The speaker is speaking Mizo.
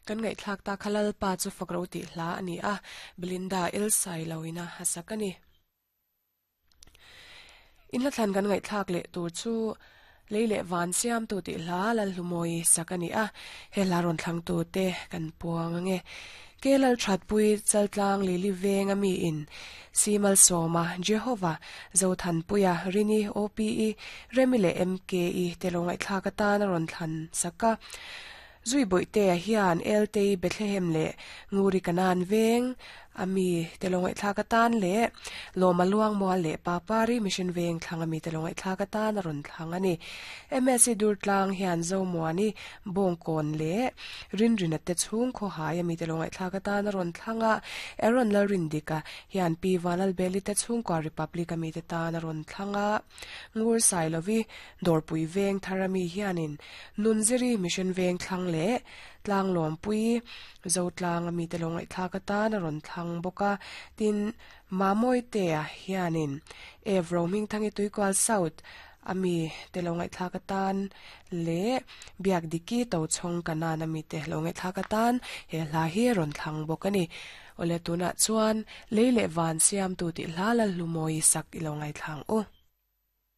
Kan ngaihthlak ta kha Lalpa chu fak ro tih hla a ni a, Belinda Elsai lo ina a sak a ni. Inhla thlan kan ngaihthlak leh tur chu Lei leh Van Siamtu tih hla Lalhlumawi sak a ni a, he hla rawn thlangtu te kan puang ange. Ke Lalthatpui Chaltlang Lili Veng a mi in Simalsawma, Jehova, Zothanpuia, Rini, OPE, Remi leh MKE te lo ngaihthlak atan a rawn thlan sak a. Zui Bawihtea hian Eltei Bethlehem leh Nguri Kanan veng a mi te lo ngaihthlak atan leh Lawma Luangmual leh Papari Mission Veng thlang a mi te lo ngaihthlak atan a rawn thlang a ni. MSc Durtlang hian Zomuani Bawngkawn leh Rinrina te chhung khawhai a mi te lo ngaihthlak atan a rawn thlang a, Aaron Lalrindika hian Pi Vanlalbeli te chhungkua Republic a mi te tan a rawn thlang a. Ngur Sailovi Dawrpui Veng thar ami hianin Nunziri Mission Veng thlang leh Tlanglawmpui Zotlang ami te lo ngaihthlak atan a rawn thlang bawk a. Tin, Mamawite-a hianin Ev Rohmingthangi Tuikual South ami te lo ngaihthlak atan leh Biakdiki Tochhawng Kanan ami te lo ngaihthlak atan he hla hi a rawn thlang bawk a ni. Awle tunah chuan Lei leh Van Siamtu tih hla Lalhlumawi sak i lo ngaithla ang u.